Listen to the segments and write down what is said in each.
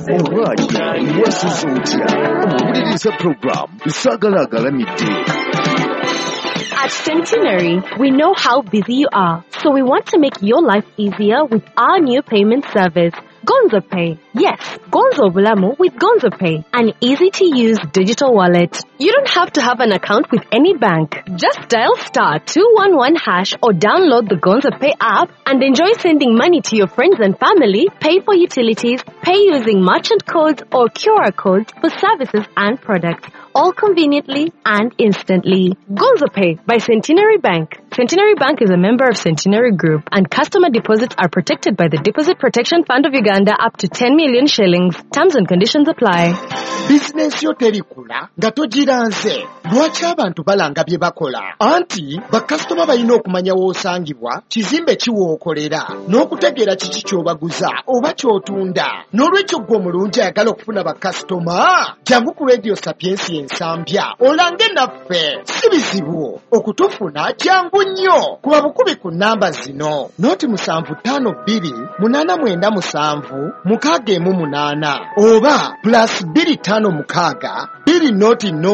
Olwaye wasuze otya owuliriza program Saagala Agalamidde. At Centenary, we know how busy you are, so we want to make your life easier with our new payment service, Gonzo Pay. Yes, Gonzo Bulamu with Gonzo Pay, an easy-to-use digital wallet. You don't have to have an account with any bank. Just dial *211# or download the Gonzo Pay app and enjoy sending money to your friends and family, pay for utilities, pay using merchant codes or QR codes for services and products, all conveniently and instantly. Gonzo Pay by Centenary Bank. Centenary Bank is a member of Centenary Group, and customer deposits are protected by the Deposit Protection Fund of Uganda up to 10 million shillings. Terms and conditions apply. Bizinensi yo terikula nga togiranze. Lwaki abantu balanga bye bakola? Anti bakasitoma balina okumanya w'osangibwa, kizimbe ki w'okolera, n'okutegeera kiki ky'obaguza oba ky'otunda. N'olwekyo ggwe omulungi ayagala okufuna bakasitoma, jangu ku Radio Sapiensia Ensambya olange naffe. Si bizibu okutufuna, jangu nnyo. Kuba bukubi ku nnamba zino: 075 2 897 618 oba +256 200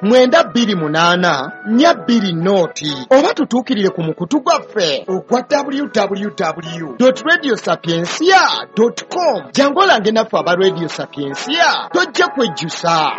928 420, oba tutuukirire ku mukutu gwaffe ogwa www.radiosapiencia.com. Jangu olange naffe aba Radio Sapiencia, tojja kwejjusa.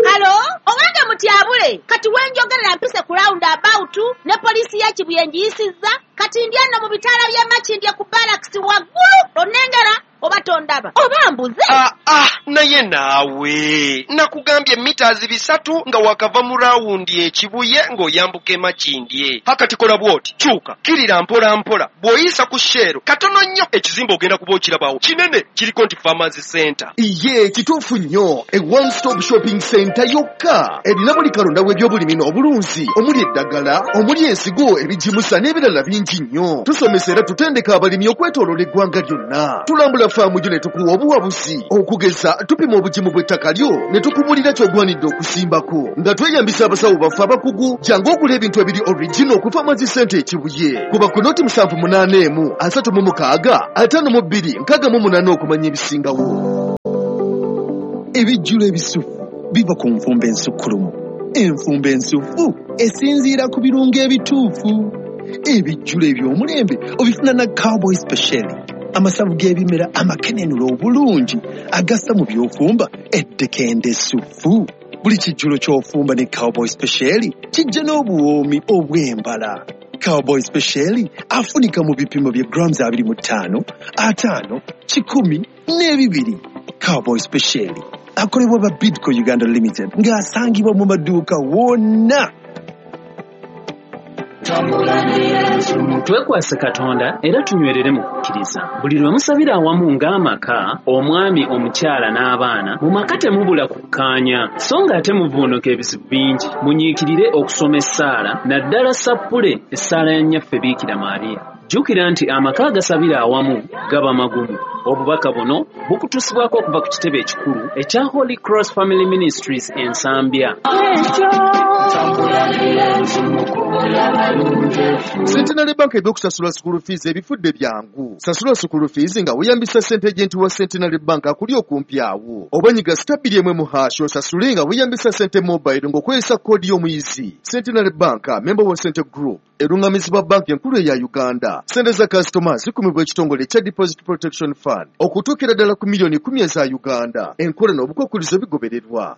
Halo, owange mutyabule, kati wenjogerera mpise ku round about ne poliisi ya Kibuye ngiyisizza, kati ndi nno mu bitaala by'e Makindye ku barracks waggulu, onnengera oba tondaba oba mbuze? Ah, ah, naye naawe nakugambye mita 300 nga wakava mu rawundi ekibuye ng'oyambuka emakindye. Hakati kola bw'oti, kyuka kirira mpola mpola, bw'oyisa ku Shell katono nnyo ekizimbe ogenda kuba okirabawo kinene, kiriko nti Farmers Center. Iye kituufu nnyo, e one stop shopping center yokka erina buli kalonda w'ebyobulimi n'obulunzi, omuli eddagala, omuli ensigo, ebigimusa n'ebirala bingi nnyo. Tusomesa era tutendeka abalimi okwetooloola eggwanga lyonna. Tulambula faamu gyo ne tukuwa obuwabuzi. Okugeza, tupima obugimu bw'ettaka lyo ne tukubulira ky'ogwanidde okusimbako nga tweyambisa abasawo baffe abakugu. Jangu ogula ebintu ebiri original ku Farmers Center Ekibuye. Kuba ku 078 36 52 68 okumanya ebisingawo. Ebijjulo ebisufu biva ku nfumba ensukkulumu. Enfumba ensufu esinziira ku birungo ebituufu. Ebijjulo eby'omulembe obifuna na Cowboy Special, amasavu g'ebimera amakenenula obulungi agassa mu by'ofumba eddekende essufu. Buli kijjulo ky'ofumba ne Cowboy Special kijja n'obuwoomi obw'embala. Cowboy Special afunika mu bipimo bya grams 25, 50, 100 n'ebibiri. Cowboy Special akolebwa ba Bidco Uganda Limited ng'asangibwa mu maduuka wonna. Twekwase Katonda era tunywerere mu kukkiriza. Buli lwe musabira awamu ng'amaka, omwami, omukyala n'abaana, mu maka temubula kukkaanya, so ng'ate muvvuunuka ebizibu bingi. Munyiikirire okusoma essaala, naddala sappule essaala ya Nnyaffe Biikira Maria. Jjukira nti amaka agasabira awamu gaba magumu. Obubaka buno bukutuusibwako okuva ku kitebe ekikulu ekya Holy Cross Family Ministries Ensambya. Centenary Bank ebyokusasula school fees ebifudde byangu. Sasula school fees nga weeyambisa Sente Agent wa Centenary Bank akuli okumpi awo, oba nyiga *210# osasule nga weeyambisa Sente Mobile ng'okozesa koodi y'omuyizi. Centenary Bank, member wa Sente Group, erungamizibwa banki enkulu eya Uganda. Sente za kasitoma zikumibwa ekitongole ekya Deposit Protection Fund okutuukira ddala ku miliyoni 10 eza Uganda. Enkola n'obukwakkulizo bigobererwa.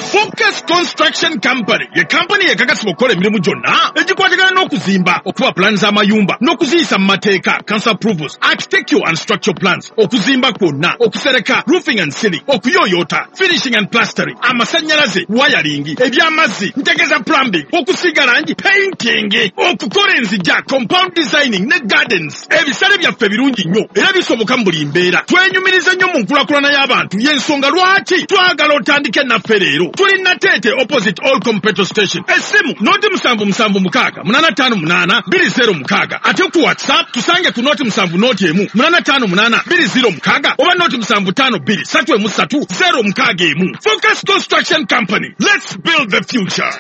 Focus Construction Company ye kampani ekakasibwa okukola emirimu gyonna egikwatagana n'okuzimba, okuba pulaani z'amayumba n'okuziyisa mu mateeka, council approvals, architectural and structural plans, okuzimba kwonna, okusereka, roofing and ceiling, okuyooyoota, finishing and plastering, amasannyalaze, wiring, ebyamazzi, ntegeeza plumbing, okusiiga langi, painting, okukola enzija, compound designing ne gardens. Ebisale byaffe birungi nnyo era bisoboka mu buli mbeera. Twenyumiriza nnyo mu nkulaakulana y'abantu, y'ensonga lwaki twagala otandike naffe leero. Tuli Nateete, opposite All Petrol Station. Essimu 077 685 206, ate ku WhatsApp tusange ku 070 1 858 206 oba 075 2 3 3 061. Focus Construction Company, let's build the future.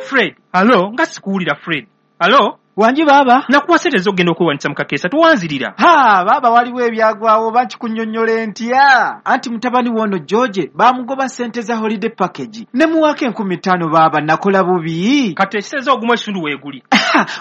Fred, alo, nga sikuwulira. Fred, alo. Wangi baaba. Nakuwa ssente z'okugenda okwewandiisa mu kakeesa towanzirira. Ha, baaba waliwo ebyagwawo oba nkikunnyonnyola ntya? Anti mutabani w'ono George baamugoba ssente za holiday package. Ne muwaako 5,000 baaba nakola bubi. Kati ekiseza ogumu ekitundu weeguli.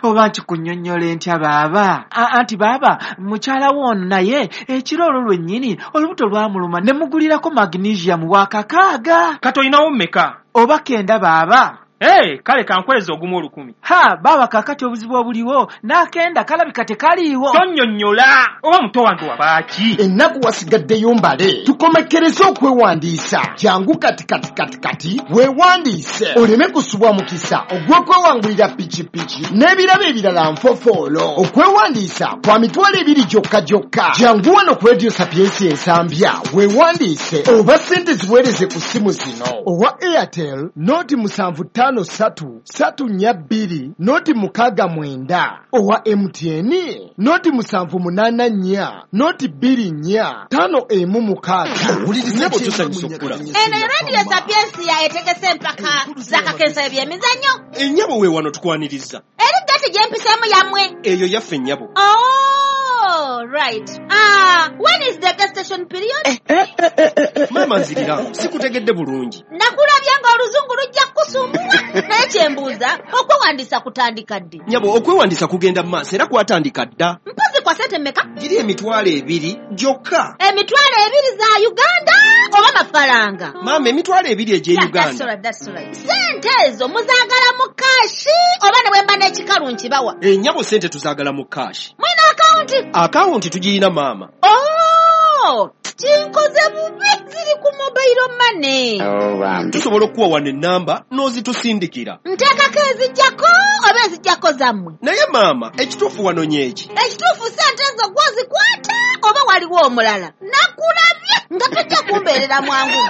Oba nkikunnyonnyola ntya baaba? Anti baaba mukyala w'ono naye ekiro olwo lwennyini olubuto lwamuluma ne mugulirako magnesium wa 6. Kati olinawo mmeka? Oba 9 baaba. Hey, kale kankweza ogumu 1,000. Ha, baba kakati obuzibu obuliwo n'akenda kalabika tekaliiwo. Tonnyonnyola oba muto wange wabaaki? Ennaku wasigaddeyo mbale tukomekkereze okwewandiisa. Jangu kati kati kati kati weewandiise oleme kusubwa mukisa ogw'okwewangulira pikipiki n'ebirabo ebirala nfofoolo. Okwewandiisa kwa 20,000 gyokka gyokka. Jangu wano ku Radio Sapiensia Ensambya weewandiise oba ssente ziweereze ku ssimu zino: owa Airtel noti 753 342 noti 69, owa MTN noti 784 noti 24 516. Nnyabo tusanyusa okukula. Eno Radio Sapiensia etegese empaka za kakensa ebyemizannyo. Ennyabo we wano tukwaniriza. Eri gati gye mpiseemu yammwe. Eyo yaffe nnyabo. Oh, right. When is the gestation period? Maama nzirira, sikutegedde bulungi. Nakulabye ng'oluzungu lujja kusumbuwa. Naye kyembuuza, okwewandiisa kutandika ddi? Nnyabo okwewandiisa kugenda mu maaso era kwatandika dda. Mpozi kwa ssente mmeka? Giri 20,000 gyokka. 20,000 za Uganda oba mafaranga? Maama 20,000 egy'e Uganda. That's right. Ssente ezo muzaagala mu kaashi oba ne bwe mba n'ekikalu nkibawa? Ennyabo ssente tuzaagala mu kaashi. Mwina akawunti? Akawunti tugirina maama. Oh, kinkoze bubi, ziri ku mobile money. Tusobola okuwa wano ennamba n'ozitusindikira. Nteekako ezijjako oba ezijjako zammwe? Naye maama ekituufu wano nyeeki. Ekituufu ssente ezo gw'ozikwata oba waliwo omulala? Nakulabye nga tojja kumbeerera mwangu.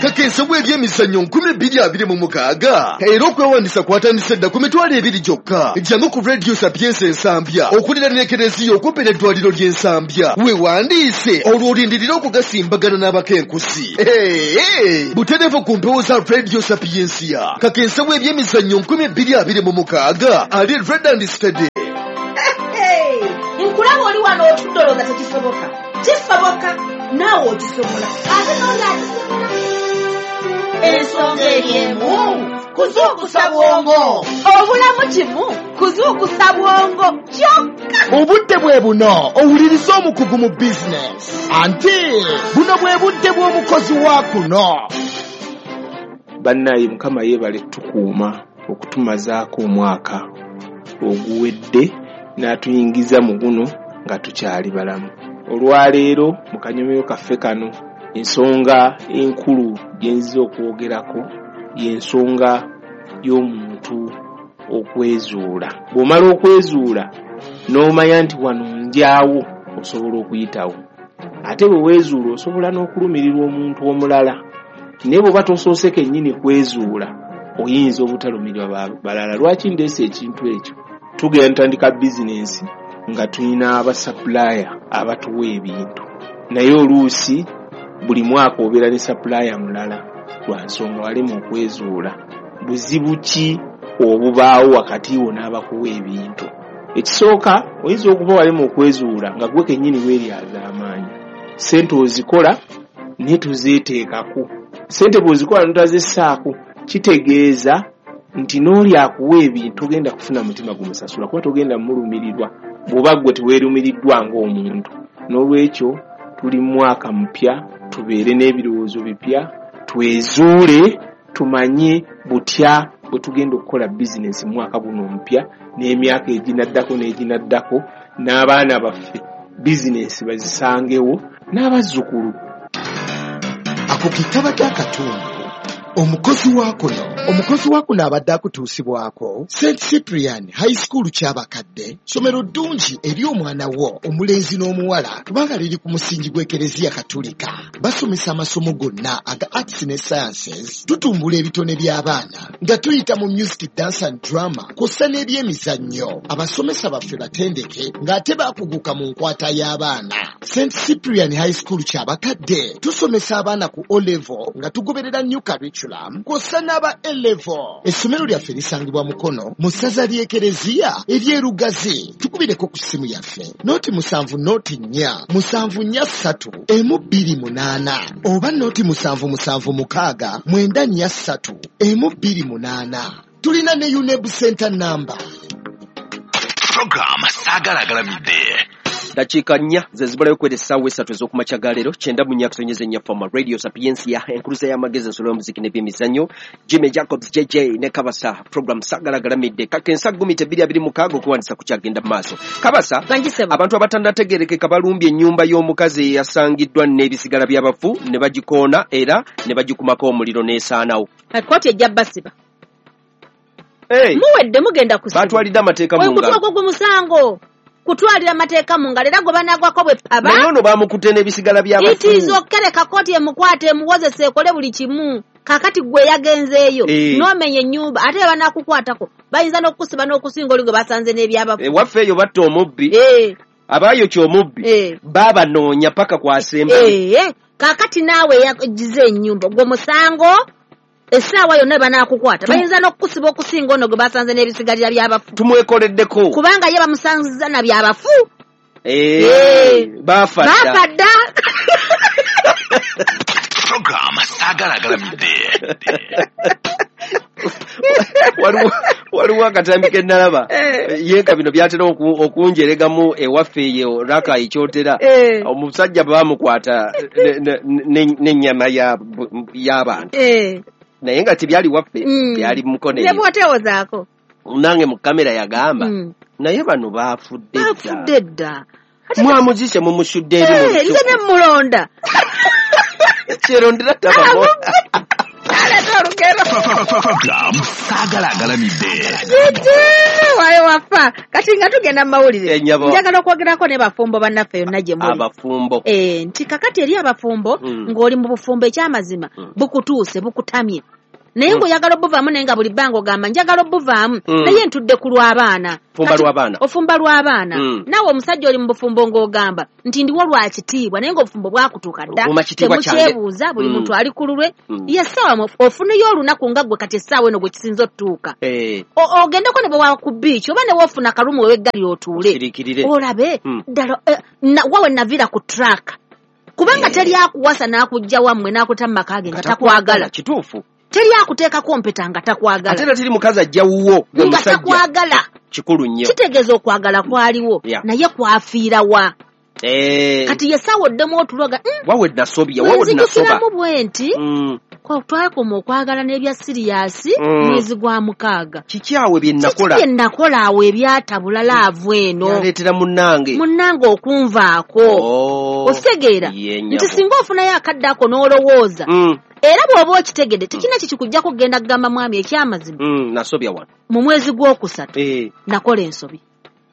Kakensa bw'ebyemizannyo 2026 era okwewandiisa kwatandise dda ku 20,000 gyokka. Jangu ku Radio Sapiensia Ensambya okuliraana ekereziya okumpi n'eddwaliro ly'Ensambya weewandiise olwo olindirire okugasimbagana n'abakenkusi. Butereevu ku mpewo za Radio Sapiensia. Kakensa bw'ebyemizannyo 2026 ali red and steady. Nkulaba oli wano otudde olowooza tekisoboka. Kisoboka naawe okisobola ate n'oli akisobola. Ensonga eri emu kuzuukusa bwongo. Obulamu kimu kuzuukusa bwongo kyokka. Obudde bwe buno owuliriza omukugu mu bizinesi. Anti buno bwe budde bw'omukozi wa kuno. Bannaye Mukama yeebale tukuuma okutumazaako omwaka oguwedde n'atuyingiza mu guno nga tukyali balamu. Olwaleero mu kanyomero kaffe kano ensonga enkulu gye nzize okwogerako y'ensonga y'omuntu okwezuula. Bw'omala okwezuula n'omanya nti wano njaawo osobola okuyitawo. Ate bwe weezuula osobola n'okulumirirwa omuntu omulala. Naye bw'oba tosoose kennyini kwezuula oyinza obutalumirirwa balala. Lwaki ndeese ekintu ekyo? Tugenda tutandika bizinensi nga tulina abasapulaya abatuwa ebintu. Naye oluusi buli mwaka obeera ne sapulaya mulala lwa nsonga walema okwezuula. Buzibu ki obubaawo wakati wo n'abakuwa ebintu? Ekisooka oyinza okuba walema okwezuula nga gwe kennyini weeryaza amaanyi. Ssente ozikola naye tozeeteekako. Ssente bw'ozikola n'otazissaako kitegeeza nti n'oli akuwa ebintu togenda kufuna mutima gumusasula kuba togenda mulumirirwa bw'oba ggwe teweerumiriddwa ng'omuntu. N'olwekyo tuli mu mwaka mupya, tubeere n'ebirowoozo bipya, twezuule tumanye butya bwe tugenda okukola bizinensi mu mwaka guno omupya n'emyaka eginaddako n'eginaddako n'abaana baffe bizinensi bazisangewo n'abazzukulu. Ako ke kabadde akatundu. Omukozi wa kuno. Omukozi wa kuno abadde akutuusibwako St. Cyprian High School Kyabakadde, ssomero ddungi eri omwana wo omulenzi n'omuwala kubanga liri ku musingi gw'Ekereziya Katulika. Basomesa amasomo gonna aga arts ne sciences, tutumbula ebitone by'abaana nga tuyita mu music, dance and drama kw'ossa n'ebyemizannyo. Abasomesa baffe batendeke ng'ate baakuguka mu nkwata y'abaana. St. Cyprian High School Kyabakadde tusomesa abaana ku O level nga tugoberera new curriculum. curriculum kw'ossa n'aba A-level. Essomero lyaffe lisangibwa Mukono mu ssaza ly'Ekereziya ery'e Lugazi. Tukubireko ku ssimu yaffe 070 04 743 128 oba 0776 943 128. Tulina ne UNEB Center number. Program Saagala Agalamidde. Dakiika 4 ze zibulayo kwera essaawa 3 ez'okumakya ga leero 94.4 Fama Radio Sapientia, enkuluza y'amagezi, ensolo y'omuziki n'ebyemizannyo. Jimmy Jacobs JJ ne Kabasa, program Saagala Agalamidde. Kakensa 2026 okuwandisa kukyagenda mu maaso. Kabasa, abantu abatannategeerekeka balumbye ennyumba y'omukazi eyasangiddwa n'ebisigala by'abafu ne bagikoona era ne bagikumako omuliro n'esaanawo. Kkooti ejja basiba. Muwedde mugenda kusiba. Batwalidde amateeka mu ngalo. Ogwo gwe musango. Kutwalira amateeka mu ngalo era gwe banaagwako bwe paba. Naye ono bamukutte n'ebisigala by'abafu. It is okay, kkooti emukwate emuwozese ekole buli kimu. Kaakati gwe yagenzeeyo n'omenya ennyumba ate banaakukwatako bayinza n'okukusiba n'okusinga oli gwe basanze n'ebyabafu. Ewaffe eyo batta omubbi. Abaayokya omubbi baabanoonya paka kwasemba. Kaakati naawe eyagize ennyumba gwe musango. Essaawa yonna banaakukwata bayinza n'okukusiba okusinga ono gwe basanze n'ebisigalira by'abafu. Tumwekoleddeko kubanga ye bamusanziza na byabafu. Bafa dda. Program Saagala Agalamidde. Waliwo akatambi ke nnalaba yeeka bino byatera okunjeregamu ewaffe eyo raka ekyotera. Omusajja baamukwata n'ennyama y'abantu naye nga tebyali waffe, byali Mukono. Ne bw'otewozaako nange mu kamera yagamba naye bano baafudde dda. Mwamuzise mumusudde eri mu lusuku. Nze ne mmulonda kyerondera tabamo. Program Saagala Agalamidde. Wayo wafa. Kati nga tugenda mu mawulire. Njagala okwogerako ne bafumbo bannaffe yonna gye muli. Abafumbo. Nti kakati eri abafumbo ng'oli mu bufumbo ekyamazima bukutuuse bukutamye. Naye ng'oyagala obuvaamu naye nga buli bbanga ogamba njagala obuvaamu naye ntudde ku lw'abaana. Fumba lw'abaana. Ofumba lw'abaana. Naawe omusajja oli mu bufumbo ng'ogamba nti ndiwo lwa kitiibwa naye ng'obufumbo bwakutuuka dda. Temukyebuuza buli muntu ali ku lulwe. Ye essaawa ofuneyo olunaku nga ggwe kati essaawa eno gwe kisinza otutuuka. Ogendeko ne bwe wa ku beach oba ne woofuna akalumu weweggalira otuule. Olabe ddala wawe naviira ku track. Kubanga teri akuwasa n'akujja wammwe n'akuta mu maka ge nga takwagala. Kituufu. Teri akuteekako mpeta nga takwagala. Ate era teri mukazi ajja wuwo nga takwagala. Kikulu nnyo. Kitegeeza okwagala kwaliwo naye kwafiira wa. Kati ye ssaawa oddemu otuloga. Wawe nasobya, wawe nasoba. Nzijukiramu bwe nti twakoma okwagala n'ebya siriyasi mwezi gwa 6. Kiki awo bye nakola? Kiki bye nakola awo ebyatabula laavu eno? Yaleetera munnange. Munnange okunvaako. Okitegeera nti singa ofunayo akadde ako n'olowooza. Era bw'oba okitegedde tekirina kikikujjako kugenda kugamba mwami ekyamazima. Nasobya wano. Mu mwezi gw'okusatu nakola ensobi.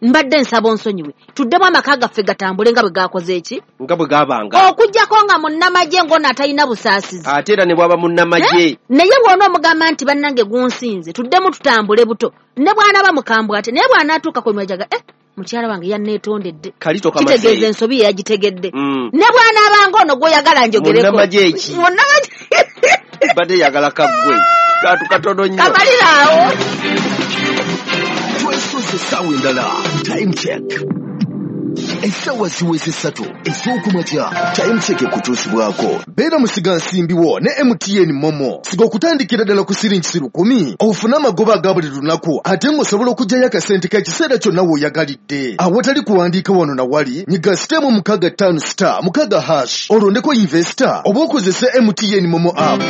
Mbadde nsaba onsonyiwe. Tuddemu amaka gaffe gatambule nga bwe gakoze eki? Nga bwe gaabanga. Okuggyako nga munnamagye ng'ono atalina busaasizi. Ate era ne bw'aba munnamagye. Naye bw'ona omugamba nti bannange gunsinze tuddemu tutambule buto. Ne bw'anaaba mukambwe ate naye bw'anaatuuka ku mwajaga mukyala wange yanneetondedde. Kitegeeza ensobi ye yagitegedde. Ne bw'anaabanga ono gw'oyagala njogereko. Munnamagye eki? Munnamagye. Badde yagala kaggwe. Kantu katono nnyo. Kamalira awo. Twesoose essaawa endala. Time check. Essaawa ziweze 3 ez'okumakya. Time check ekutuusibwako. Beera musigansimbi wo ne MTN Momo. Siga okutandikira ddala ku siringi 10,000 ofune amagoba aga buli lunaku ate ng'osobola okuggyayo akasente k'ekiseera kyonna w'oyagalidde. Awatali kuwandiika wano na wali, nyiga *656*6# olondeko investor oba okozese MTN Momo app.